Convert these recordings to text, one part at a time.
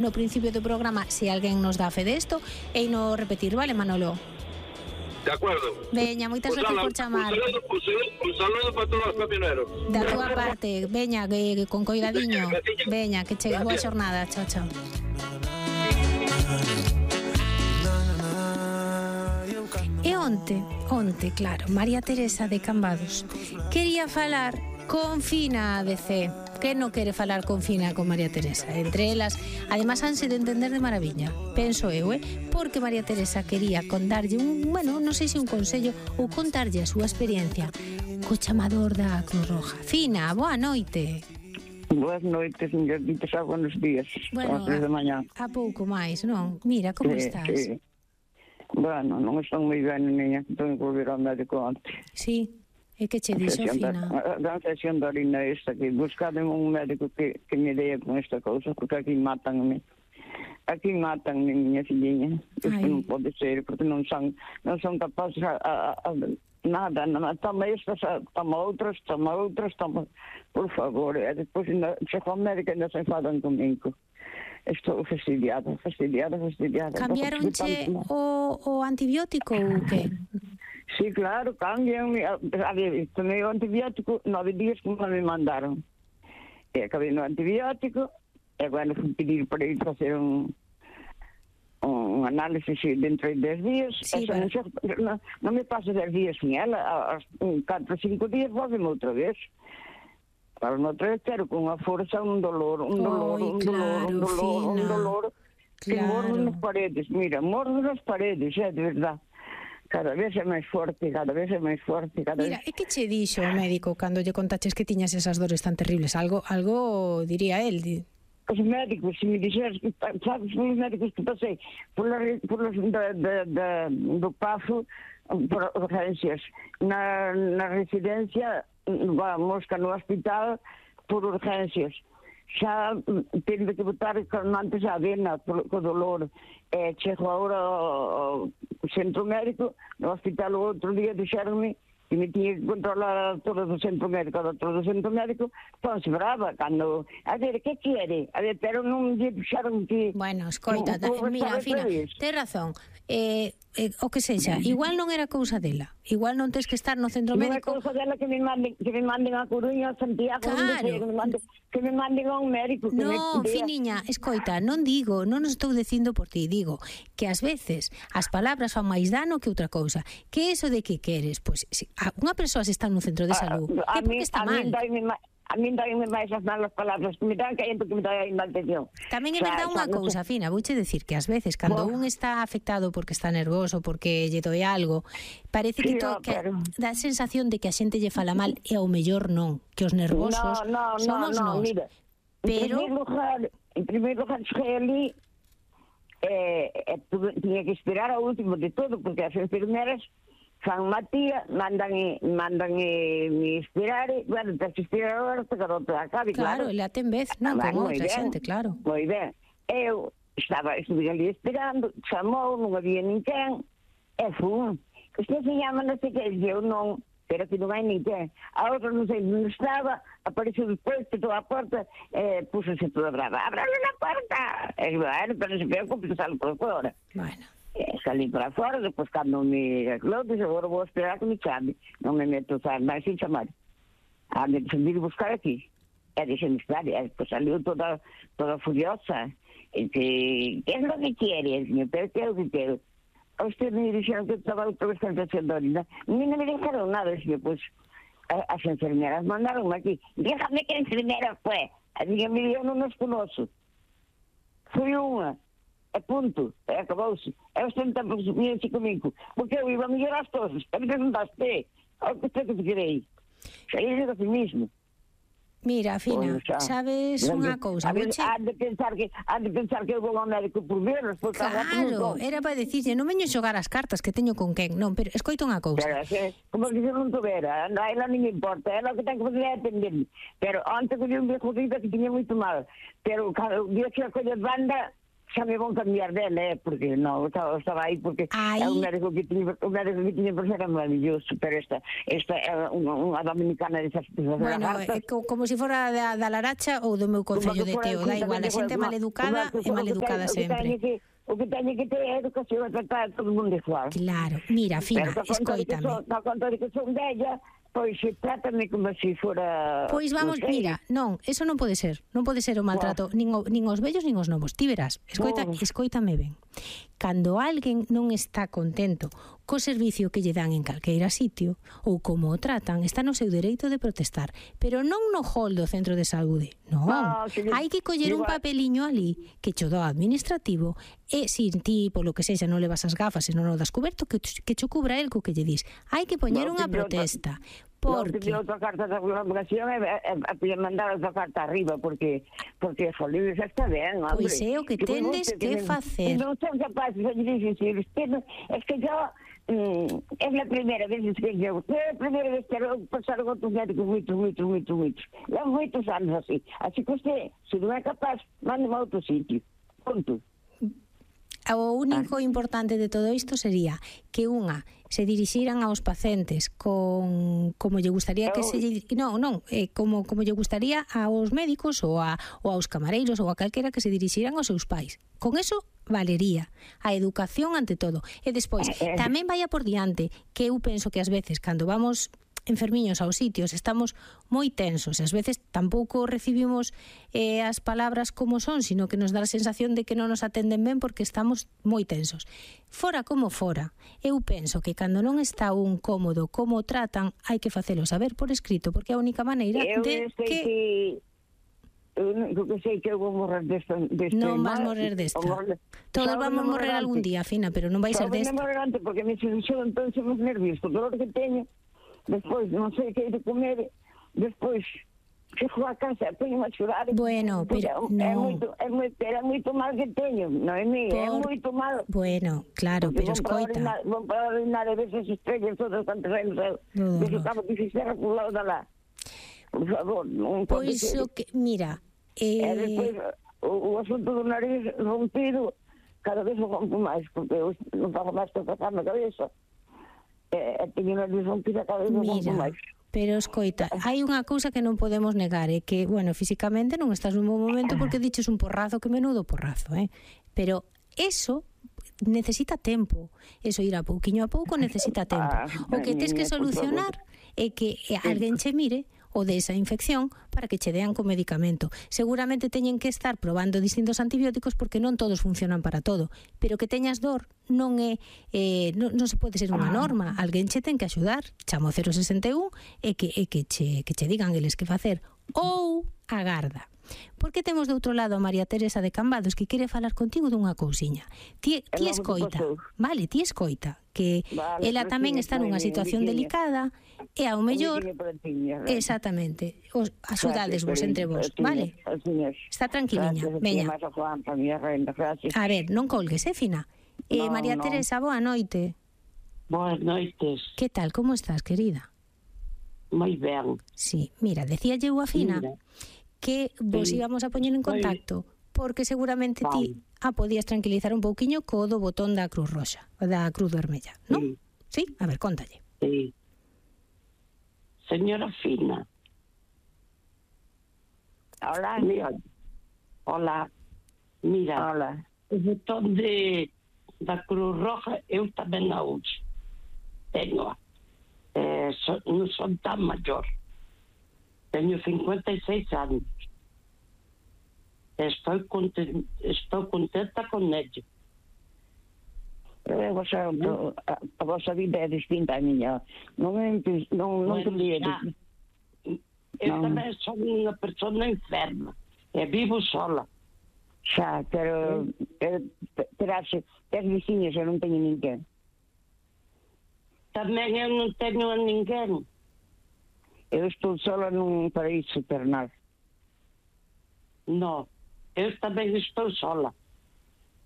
no principio do programa, se alguén nos dá fe desto, e no repetir, vale, Manolo? De acuerdo. Veña, moitas gracias por chamar. Un saludo para todos os camioneros. Da túa parte, veña, que con coidadiño. Veña, que chegue boa xornada. Chao, chao. E onte, claro, María Teresa de Cambados quería falar con Fina ABC. Que non quere falar con Fina con María Teresa? Entre elas, además, hanse de entender de maravilla, penso eu, porque María Teresa quería contarlle non sei se un consello ou contarlle a súa experiencia co chamador da Cruz Roja. Fina, boa noite. Boas noites, señor Dites, buenos días. Bueno, As 3 da mañá. a pouco máis, non? Mira, como estás? Sí. Bueno, non estou moi ben, niña. Tengo que volver ao médico onte. Sí. E que che dixo, Fina? A sesión da orina esta, que buscade un médico que me dea con esta cousa, porque aquí matanme. Aquí matanme, miña filliña. Isto non pode ser, porque non son capaces nada. Toma estas, toma outras, por favor. E despois chego ao médico e ainda se enfadan comigo. Estou fastidiada. Cambiaronche o antibiótico ou que? Sí, claro, cambian. A ver, tomei o antibiótico 9 días como me mandaron. E acabei no antibiótico, e agora fui pedir para ir facer un análisis dentro de 10 días. Sí, non me paso 10 días sin ela, aos 4 ou 5 días volveme outra vez. Para outra vez quero con unha forza, un dolor, que mordo nas paredes. Mira, mordo nas paredes, de verdad. Cada vez é máis forte. Mira, e que che dixo o médico cando lle contaches que tiñas esas dores tan terribles? Algo diría el. Os médicos, se me dixeras que, sabes, os médicos que pasei por do PAFO, por urgencias, na residencia, vamos, que no hospital, por urgencias. Xa tendo que botar calmantes á vena co dolor. Chego agora ao centro médico, no hospital o outro día dixeronme que me tiña que controlar a doutora do centro médico. A doutora do centro médico ponse brava cando... A ver, que quere? A ver, pero non lle dixeron que... Bueno, escoita, mira, Fina, ten razón. O que sexa, igual non era cousa dela. Igual non tens que estar no centro médico. Non é cousa dela que me manden a Coruña, a Santiago, claro. Que me manden a un médico. Non, Finiña, escoita, non estou dicindo por ti, digo que ás veces as palabras fan máis dano que outra cousa. Que eso de que queres? Pois unha persoa se está nun centro de salud, é porque está mal. A min dáenme máis as malas palabras, que me dan callando que me dan a atención. Tamén é verdade unha cousa, Fina, vouche decir que ás veces, cando un está afectado porque está nervoso, porque lle doe algo, parece que dá a sensación de que a xente lle fala mal, e ao mellor non, que os nervosos somos nós. Mira, pero... En primeiro lugar, cheguei ali, tiña que esperar ao último de todo, porque as enfermeras fan matía, mandan esperar, bueno, tens que esperar agora hasta que non te acabe, claro. Claro, ele ten vez, non, como outra xente, claro. Moi ben. Eu estuve ali esperando, chamou, non había ninguén, e fun. Usted se llama non sei que, eu non, pero que non hai ninguén. A outra non sei onde estaba, apareceu despois, petou a porta, púxose toda brava. Abrale na porta! E bueno, pero se preocupe, salgo por fora. Bueno. Salí para fora, depois cando me aclarou, disse, agora vou esperar que me chame. Non me meto a usar máis sin chamar. De vir buscar aquí. E deixe-me esperar. E depois saliu toda furiosa. E que é lo que quiere, señor? Pero que é o que quero? A usted me dixeron que estaba outra vez cantando orina. Non me dixeron nada, señor, pois as enfermeras mandaron aquí. Dígame que enfermera fue. A minha eu non nos conoço. Foi unha. É punto, acabouse. É os 30 minutos comigo. Porque eu iba a melhorar as coisas. A mí preguntaste, o que usted que querei. Xa é do mismo. Mira, Fina, sabes unha cousa? Há de pensar que eu vou ao médico por verlos. Claro, era para dicirlle, non veño xogar as cartas que teño con quen. Non, pero escoita unha cousa. Como que non tuvera, a ela non me importa, ela o que ten que fazer é atenderme. Pero antes que un viejo dita que tiña moito mal. Pero o día que a colla de banda, xa me vão cambiar dela, porque non, estaba aí porque é un médico que tiña por ser maravilloso, pero esta é unha dominicana desas bueno, como se fora da Laracha ou do meu concello de Teo, da igual, a xente maleducada é maleducada sempre. O que teñe que ter é educación a tratar a todo mundo igual. Claro, mira, Fina, escoítame. Na conta de que son bella, pois trátame como se fora... Pois vamos, mira, non, eso non pode ser o maltrato, nin os vellos nin os novos. Ti verás, escoítame ben. Cando alguén non está contento co servicio que lle dan en calqueira sitio ou como o tratan, está no seu dereito de protestar, pero non no hall do centro de saúde, non. Hai que coller un papeliño ali que cho dá administrativo e se ti, polo que sexa, non levas as gafas e non o das cuberto, que cho cubra el co que lle dis. Hai que poñer unha protesta. Porque outra carta de colaboración e mandar outra carta arriba porque Folio xa está ben, hombre. Pois é o que tendes que facer. Non son capaces de dicir, es que yo es la primera vez que yo pasaron outros médicos moitos. Levo moitos anos así que usted, se non é capaz, mándeme a outro sitio, punto. O único importante de todo isto sería que se dirixiran aos pacientes como lle gustaría que como lle gustaría aos médicos ou aos camareiros ou a calquera que se dirixiran aos seus pais. Con eso valería a educación ante todo. E despois, tamén vaya por diante, que eu penso que ás veces cando vamos enfermiños aos sitios estamos moi tensos e ás veces tampouco recibimos as palabras como son, sino que nos dá a sensación de que non nos atenden ben porque estamos moi tensos. Fora como fora, eu penso que cando non está un cómodo como tratan, hai que facelo saber por escrito, porque é a única maneira de que... Eu sei que eu vou morrer deste non vas morrer desta. Todos vamos morrer algún día, Fina, pero non vai ser desta. Non morrer antes porque me xeron entón os nervios, o dolor que teño. Despois, non sei que hai de comer, despois chego a casa, teño a chorar. Bueno, pero non. É moito mal que teño, non é mí, é moito mal. Bueno, claro, pero escoita. Vou para orinar e ver as estrellas todas cantos anos eu. Desde estaba que fixera por lado da lá. Por favor, non pode ser. Pois o que, mira... E despois, o asunto do nariz rompido, cada vez o rompo máis, porque eu non fago máis que pasar na cabeza. Teño unha disfontida cada vez un máis. Pero escoita, hai unha cousa que non podemos negar, é que, bueno, físicamente non estás nun bom momento porque diches un porrazo, que menudo porrazo, pero eso necesita tempo, eso ir a pouquiño a pouco necesita tempo. O que tes que solucionar é que alguén che mire o desa infección para que che dean con medicamento. Seguramente teñen que estar probando distintos antibióticos porque non todos funcionan para todo, pero que teñas dor non se pode ser unha norma. Alguén che ten que axudar, chamo 061 e que che digan eles que facer ou agarda. Porque temos do outro lado a María Teresa de Cambados que quere falar contigo dunha cousiña. Ti escoita, vale, ti escoita que ela tamén está nunha situación delicada e ao mellor exactamente, axudadesvos entre vos, vale? Está tranquiliña, veña. A ver, non colgues, Fina? María Teresa, boa noite. Boas noites. Que tal, como estás, querida? Moi ben. Sí, mira, decía eu a Fina que vos íbamos a poñer en contacto porque seguramente ti podías tranquilizar un pouquiño co do botón da Cruz Roxa, da Cruz Vermella, non? Sí? A ver, contalle. Sí. Señora Fina. Hola. Hola. Mira. Hola. O botón da Cruz Roja eu tamén a uso. Tengo. Non son tan maior. Teño 56 anos. Estou contenta con ello. A vosa vida é distinta a miña. Non te líes. Eu tamén son unha persona enferma. E vivo sola. Xa, pero tes veciños e non teño ninguén. Tamén eu non teño a ninguén. Eu estou sola nun paraíso eternal. Non, eu tamén estou sola.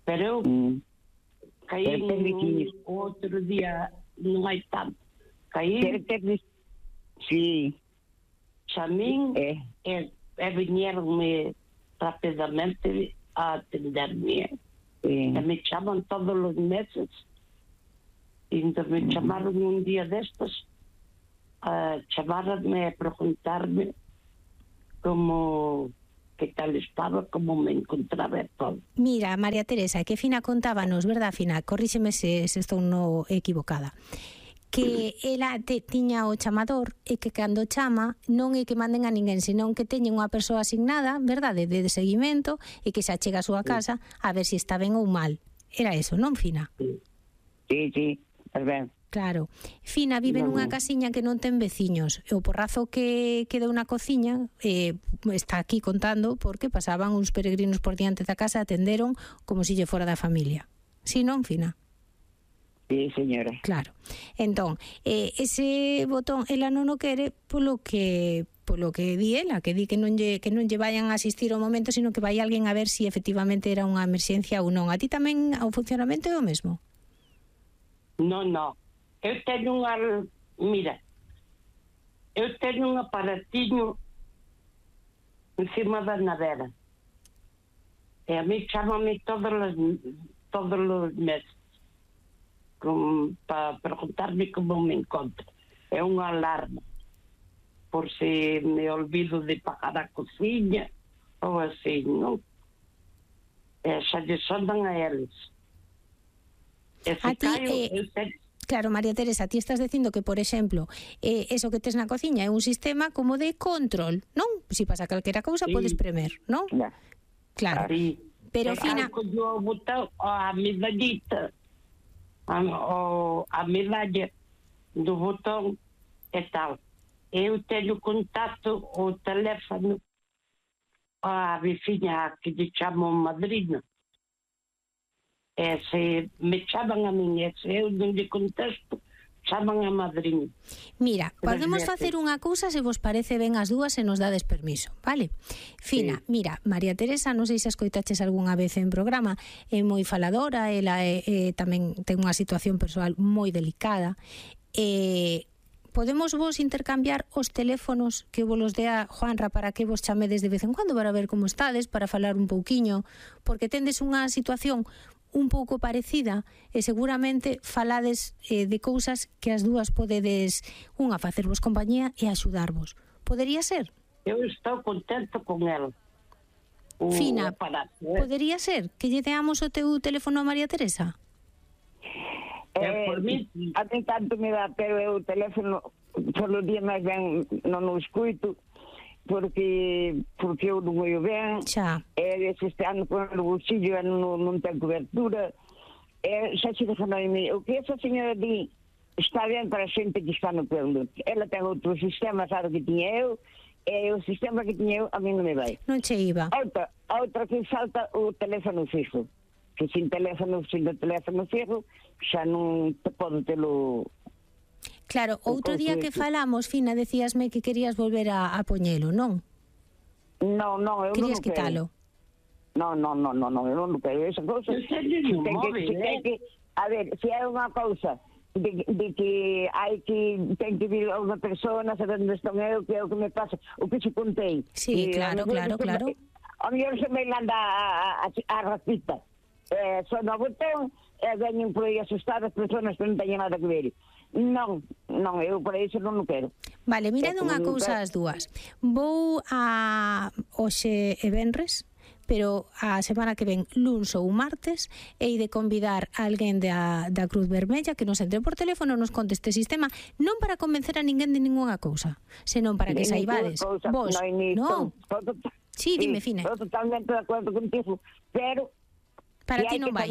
Pero eu caí outro día, non hai tanto. Caí... Sí. Xa min viñeronme rapidamente a atenderme. Sí. E me chaman todos os meses. E entón me chamaron un día destes a chamarme a preguntarme como que tal estaba, como me encontraba e todo. Mira, María Teresa, que Fina contábanos, verdad, Fina? Corríxeme se estou no equivocada. Que ela tiña o chamador e que cando chama non é que manden a ninguén, senón que teñen unha persoa asignada, verdade, de seguimento e que se achega a súa casa a ver se está ben ou mal. Era eso, non, Fina? Sí, é ben. Claro. Fina vive nunha casiña que non ten veciños. E o porrazo que quedou na cociña está aquí contando porque pasaban uns peregrinos por diante da casa e atenderon como se lle fora da familia. Si non, Fina? Sí, señora. Claro. Entón, ese botón ela non o quere polo que di ela, que di que non lle vayan a asistir ao momento, sino que vai alguén a ver se efectivamente era unha emerxencia ou non. A ti tamén o funcionamento é o mesmo? Non. Eu teño un aparatiño encima da nevera. E a mí chámame todos os meses para preguntarme como me encontro. É unha alarma por se me olvido de pagar a cociña ou así, non? E xa lle sondan a eles. E se A ti, caio, claro, María Teresa, ti estás dicindo que, por exemplo, eso que tes na cociña é un sistema como de control, non? Se pasa calquera cousa, podes premer, non? Claro. Sí. Pero, Fina... Yo botón a medallita, a medalla do botón e tal. Eu teño contacto o teléfono a veciña que lle chamo madrina. E se me chaman a min, e se eu non lle contesto, chaman a madriña. Mira, podemos facer unha cousa se vos parece ben as dúas e nos dades permiso, vale? Fina, mira, María Teresa, non sei se escoitaches algunha vez en programa, é moi faladora, ela tamén ten unha situación persoal moi delicada. Podemos vos intercambiar os teléfonos que vos los dea Juanra para que vos chamedes de vez en cuando para ver como estades, para falar un pouquiño, porque tendes unha situación un pouco parecida e seguramente falades de cousas que as dúas podedes unha facervos compañía e axudarvos. Podería ser? Eu estou contento con ela. Fina, podería ser que lle deamos o teu teléfono a María Teresa? Por mí, a mí tanto me dá, pero eu o teléfono solo día máis ben non o escuito porque eu non o ben. Xa. Se este ano con o bolsillo non ten cobertura. Xa se dejanou o que esa señora di está ben para a xente que está no pueblo. Ela ten outro sistema, sabe que tiña eu, e o sistema que tiña eu a mí non me vai. Non che iba. Outra que salta o teléfono fijo. Que sin o teléfono fijo xa non te podo telo. Claro, outro día que falamos, Fina, decíasme que querías volver a poñelo, non? Non, eu querías non quero. quitalo? Non, eu non quero esa cousa. A ver, se hai unha cousa de que hai que ten que vir a unha persona saber onde estou eu, que é o que me pasa, o que se contei. Sí, claro. A mellor se me landa a ratita. Son o botón e veñen por aí asustadas persoas que non teñen nada que ver. Non, eu por iso non o quero. Vale, mirando unha cousa as dúas. Vou a hoxe e venres, pero a semana que ven luns ou martes hei de convidar a alguén da Cruz Vermella que nos entre por teléfono, nos conte este sistema, non para convencer a ninguén de ningunha cousa, senón para que saibades vos, non? Sí, dime, Fina. Estou totalmente de acordo contigo, pero para ti non vai.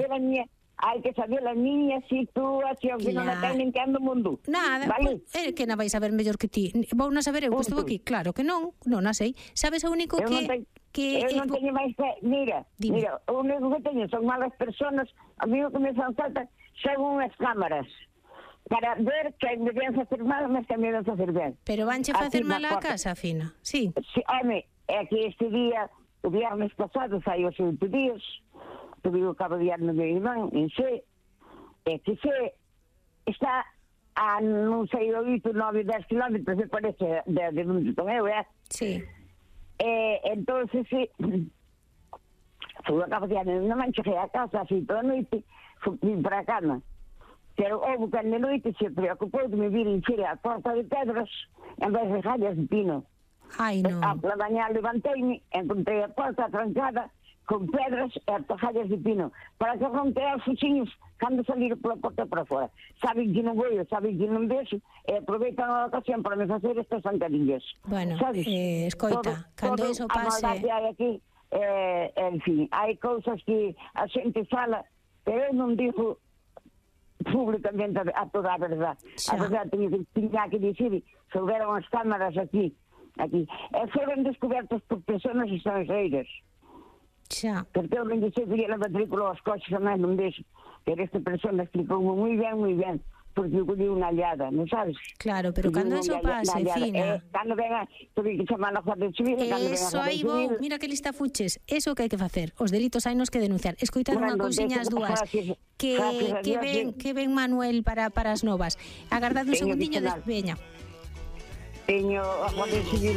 Hai que saber a miña situación, que non a ten nin que ando o mundo. Nada, vale? Que non vai saber mellor que ti. Vou na saber eu que estou aquí. Claro que non a sei. Sabes o único que eu non teño máis que... Mira, o único que teño son malas personas. A mí o que me fan falta son unhas cámaras para ver que me ven facer mal, mas que me ven facer ben. Pero vanche facer mal a casa, Fina? Sí. Home, é que este día, o viernes pasado, sai os 8 días, tuve o cabo de ano de irmán, en xe, e que xe está a, non sei, 8, 9, 10 kilómetros, me parece, de onde estou eu, Sí. entonces, sí, Fui a capacidade, non me cheguei a casa, así toda a noite, vim para a cama. Pero houve que de noite se preocupou de me vir encher a porta de pedras en vez de rallas de pino. Ai, non. A pela mañá levanteime, encontrei a porta trancada con pedras e rallas de pino, para que romper os fuxiños cando salir pola porta para fora. Saben que non vou, saben que non vexo, e aproveitan a ocasión para me facer estas zancadillas. Bueno, sabes? escoita, cando eso pase... A maldade hai aquí, en fin, hai cousas que a xente fala, pero eu non digo públicamente a toda a verdade. A verdade tiña que dicir, souberon as cámaras aquí, e foron descobertas por persoas estrangeiras. Xa. Porque eu non dixei que a matrícula aos coches, jamais non deixo, pero esta persona explicou moi ben, porque eu colli unha allada, non sabes? Claro, pero cando eso pase, Fina... Cando venga, tuve que chamar a Guardia Civil, cando venga a Guardia Civil... Mira que lista fuches, eso que hai que facer, os delitos hai nos que denunciar. Escoitad unha cousiña as dúas, que ven Manuel para as novas. Agardade un segundiño, veña. Teño a Guardia Civil